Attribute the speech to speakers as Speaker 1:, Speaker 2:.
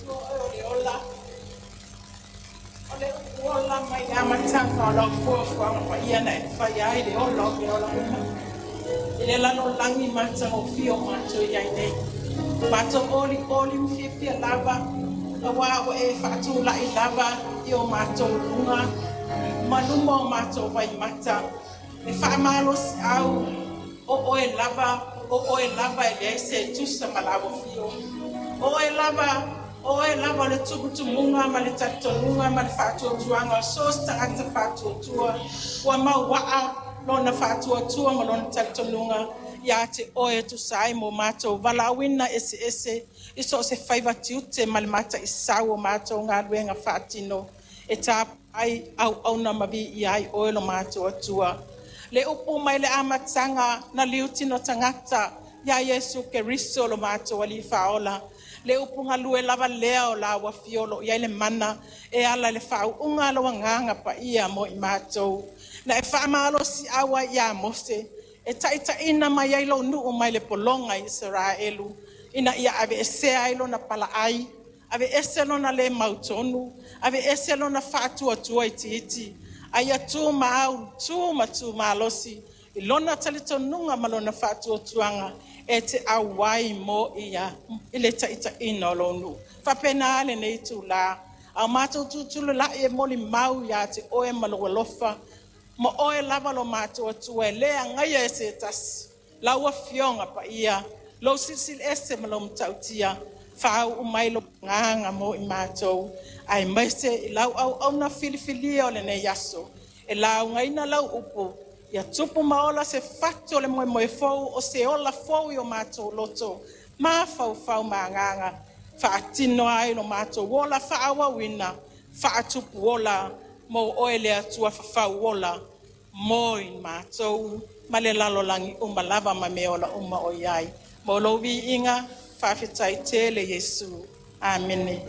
Speaker 1: Atua oe o le ola, o le upu ola mai le amataga o lau fuafuaga paia na e faia ai le ola o mea ola uma. I le lalolagi matagofie o matou i ai nei. Matou olioli ma fiafia lava, auā ua e faatula'i lava i o matou luga ma luma o matou vaimata le faamalosi'au o oe lava, o oe lava e leai se tusa ma lau afio. O oe lava, o oe lava le tumutumuga ma le talitonuga ma le faatuatuaga o so o se tagata faatuatua ua mauaa lona faatuatua ma lona talitonuga ia te oe e tusa ai mo matou valaauina eseese i so o se faiva tiute ma le mataisau o matou galuega faatino e tapuai auauna ma viia ai oe lo matou Atua. Le upu mai le amataga na liutino tagata ia Iesu Keriso lo matou Alii Faaola, le upu galue lava lea o lau afio o lo o i ai le mana e ala i le faauuga a lou Agaga Paia mo i matou. Na e faamalosiau ai ia Mose e taitaiina mai ai lou nuu mai le pologa i Isaraelu, ina ia aveesea ai lona palaai, aveese lona le mautonu, aveese lona faatuatua itiiti, a ia tu ma tu ma tu malosi i lona talitonuga ma lona faatuatuaga e te auai mo ia i le taitaiina o lou nuu. Faapena lenei itula, a o matou tutulula'i e molimau ia te oe ma lou alofa, ma oe lava lo matou Atua e le agaia e se tasi, lau Afioga Paia, lou Silisili Ese ma lou Matautia, faauu mai lou Agaga mo i matou, aemaise i lau auauna filifilia o lenei aso e laugaina lau upu, ia tupu ma ola se fatu o le moemoe fou, o se ola fou i o matou loto, mafaufau ma agaga, faatino ai lo matou ola faaauauina, faatupu ola mo oe le Atua fafauola mo i matou ma le lalolagi uma lava ma mea ola uma o i ai. Mo lou viiga, faafetai tele Iesu. Amene.